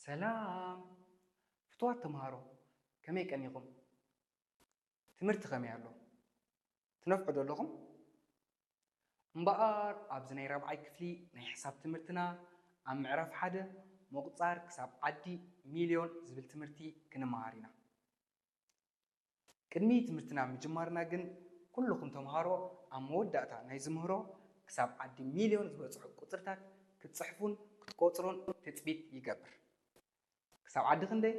ሰላም ፍትዋት ተምሃሮ፣ ከመይ ቀኒኹም? ትምህርቲ ከመይ ኣሎ? ትነፍዑ ዶ ኣለኹም? እምበኣር ኣብዚ ናይ ራብዓይ ክፍሊ ናይ ሕሳብ ትምህርትና ኣብ ምዕራፍ ሓደ ምቑጻር ክሳብ ዓዲ ሚልዮን ዝብል ትምህርቲ ክንመሃር ኢና። ቅድሚ ትምህርትና ምጅማርና ግን ኩልኹም ተምሃሮ ኣብ መወዳእታ ናይ ዝምህሮ ክሳብ ዓዲ ሚልዮን ዝበጽሑ ቁጽርታት ክትጽሕፉን ክትቆጽሩን ትጽቢት ይገብር። ክሳብ ዓዲ ክንደይ?